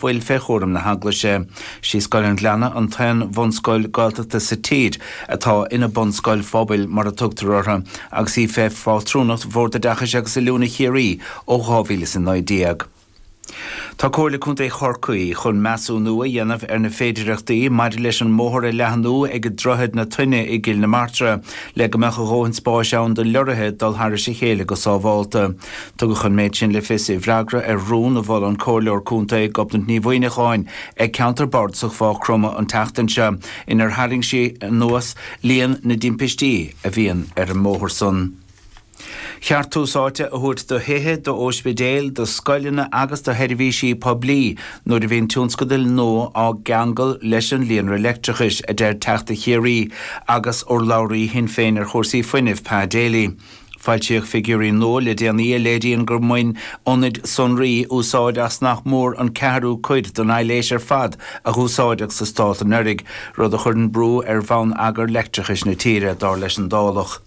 Fuil fé chúram na hEaglaise. Sí Scoil an Ghleanna an t-aon bhunscoil Gaeltachta sa tír atá ina bunscoil phobail mar a tugtar orthu agus í fé phátrúnacht Bhord Oideachais agus Oiliúna Chiarraí ó 2019. Tá Comhairle Contae Chorcaí chun measúnú a dhéanamh ar na féidireachtaí maidir leis an mbóthar a leathnú ag Droichead na Toinne i gCill na Martra le go mbeadh a dhóthain spáis ann do leoraithe dul thairis a chéile go sábhálta. Tugadh an méid sin le fios i bhfreagra ar rún a mhol an Comhairleoir Contae Gobnait Ní Mhuimhneacháin ag Ceantar Bardasach Mhaigh Chromtha an tseachtain seo inar tharraing sí anuas líon na dtimpistí a bhíonn ar an mbóthar san. Cheart tús áite a thabhairt do thithe, d'óispidéil, do scoileanna agus do sheirbhísí poiblí nuair a bhíonn tionscadail nua á gceangal leis an líonra leictreachais, a deir Teachta Chiarraí agus urlabhraí Shinn Féin ar chúrsaí fuinnimh, Pa Daly. Foilsíodh figiúirí nua le déanaí a léiríonn gur bhain ionaid sonraí úsáid as nach mór an ceathrú cuid den aibhléis ar fad a húsáideadh sa stát anuraidh, rud a chuireann brú ar bhonneagar leictreachais na tíre, dar leis an Dálach.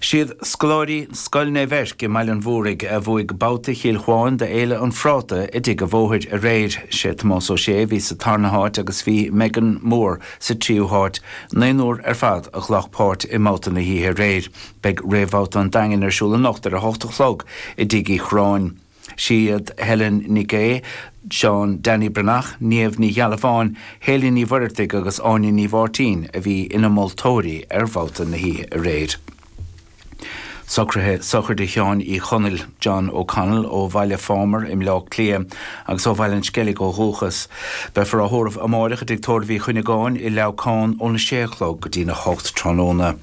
Siad scoláirí Scoil Naomh Eirc i mBaile an Mhúraigh a bhuaigh babhta Chill Chuáin d'Fhéile an Phráta i dTigh a' Bhóthair aréir. Sé Tomás Ó Sé a bhí sa tarna háit agus bhí Megan Moore sa tríú háit. Naonúr ar fad a ghlac páirt i mbabhta na hoíche aréir. Beidh réamhbhabhta an Daingin ar siúl anocht ar a hocht a chlog i dTigh Uí Chorráin. Siad Helen Nic Aodha, Seán Danny Breathnach, Niamh Ní Ghealbháin, Hayley Ní Mhuireartaigh agus Áine Ní Mháirtín a bhí ina moltóirí ar bhabhta na hoíche aréir. Socruithe sochraide Sheáin Uí Chonaill, John O'Connell, ó Bhaile Phámar i mBleá Cliath agus ó Bhaile an Sceilg ó dhúchas. Beifear á thórramh amáireach i dTigh Tórraimh Uí Chuinneagáin i Leamhcán óna sé a chlog go dtína hocht tráthnóna.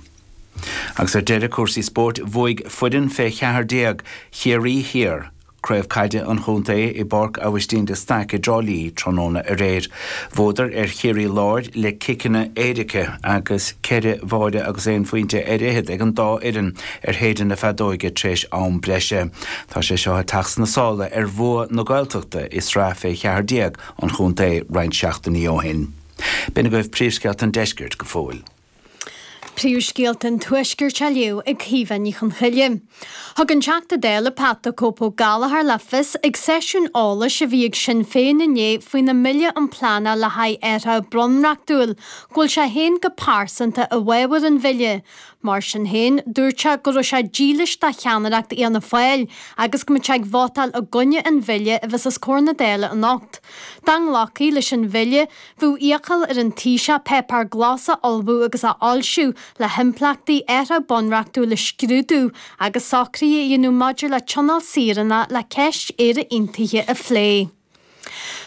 Agus ar deireadh, cúrsaí spóirt, bhuaigh foireann fé 14 Chiarraí Thiar Craobh Caide an Chontae i bPáirc Aibhistín de Staic i dTrá Lí tráthnóna aréir. Bhuadar ar Chiarraí Láir le ciceanna éirice agus ceithre bháire agus aon phointe ar fhichead ag an dá fhoireann ar shéideadh na feadóige tar éis am breise. Tá sé seo ag teacht sna sála ar bhua na Gaeltachta i sraith fé 14 an chontae roinnt seachtainí ó shin. B'in agaibh príomhscéalta an deiscirt go fóill. Príomhscéalta an Tuaiscirt á léamh ag Caoimhe Ní Chonchoille. Thug an Teachta Dála Pat 'The Cope' Ó Gallchóir le fios ag seisiún eolais a bhí ag Sinn Féin inné faoina mBille um Pleanáil le haghaidh Athraitheach Bunreachtúil go bhfuil sé féin go pearsanta i bhfabhar an bhille. Mar sin féin, dúirt sé go raibh sé dílis do cheannaireacht Fhianna Fáil agus go mbeadh sé ag vótáil i gcoinne an bhille a bheas os comhair na Dála anocht. Dá nglacfaí leis an bhille, Bheadh iachall ar an Taoiseach páipéar glas a ullmhú agus a fhoilsiú le himpleachtaí athraitheach bunreachtúil a scrúdú agus socruithe a dhéanamh maidir le tionól saoránach le ceist Éire Aontaithe a phlé.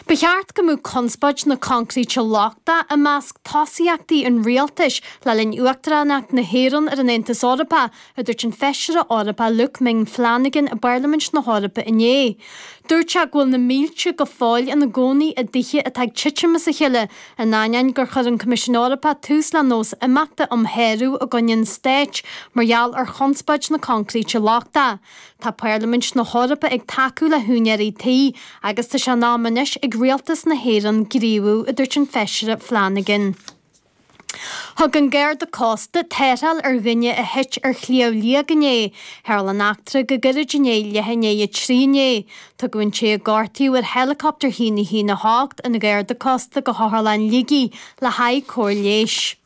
Ba cheart go mbeadh conspóid na coincréite lochtach i measc tosaíochtaí an rialtais le linn uachtaránacht na hÉireann ar an Aontas Eorpach, a dúirt an Feisire Eorpach Luke Ming Flanagan i bParlaimint na hEorpa inné. Dúirt sé go bhfuil na mílte go fóill ina gcónaí i dtithe atá ag titim as a chéile, in ainneoin gur chuir an Coimisiún Eorpach tús le nós imeachta um shárú i gcoinne an stáit mar gheall ar chonspóid na coincréite lochtach. Tá Parlaimint na hEorpa ag tacú le húinéirí tí agus tá sé in am anois ag rialtas na hÉireann gníomhú, a dúirt an Feisire Flanagan. Thug an Garda Cósta tarrtháil ar dhuine a thit ar Shliabh Liag inné. Tharla an eachtra go gairid i ndiaidh leath i ndiaidh a 3 inné. Tugadh an té a gortaíodh ar héileacaptar 1 1 8 an Gharda Cósta go hOtharlann Shligigh le haghaidh cóir leighis.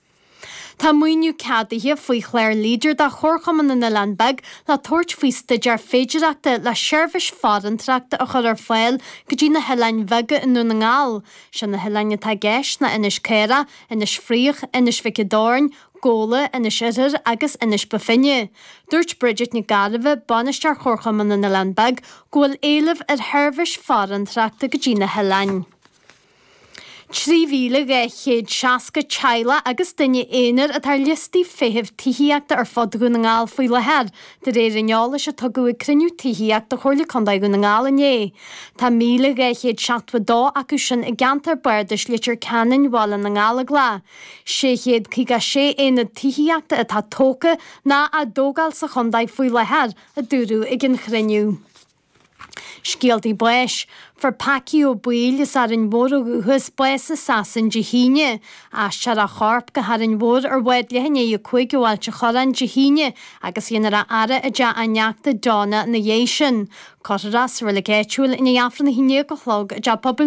Tá maoiniú ceadaithe faoi chlár Leader do Chomharchumann na nOileán Beag le tabhairt faoi staidéar féidireachta le seirbhís farantóireachta a chur ar fáil go dtí na hoileáin bheaga i nDún na nGall. Sé na hoileáin atá i gceist ná Inis Caorach, Inis Fraoich, Inis Mhic an Doirn, Gabhla, Inis Oirthir agus Inis Ba Finne. Dúirt Bridget Nic Gairbheith, Bainisteoir Chomharchumann na nOileán Beag, go bhfuil éileamh ar sheirbhís farantóireachta go dtí na hoileáin. 3,260 teaghlach agus duine aonair atá ar liostaí feithimh tithíochta ar fud Dhún na nGall faoi láthair, de réir an eolais a tugadh ag cruinniú tithíochta Chomhairle Contae Dhún na nGall inné. Tá 1,272 acu sin i gceantar bardais Leitir Ceanainn, Bhaile na nGallóglach. 656 aonad tithíochta atá tógtha ná á dtógáil sa chontae faoi láthair, a dúradh ag an chruinniú. Scéaltaí báis. Fuair Packie Ó Baoill as Árainn Mhór ó dhúchas bás i Sasain Dé hAoine. Aistreofar a chorp go hÁrainn Mhór ar bhád leath i ndiaidh 5 ó Ailt a' Chorráin Dé hAoine agus dhéanfar a fhaire i dteach a neachta Donna ina dhiaidh sin. Cuirfear é sa reilig áitiúil i ndiaidh Aifreann 11 a chlog i dTeach Pobail Naomh.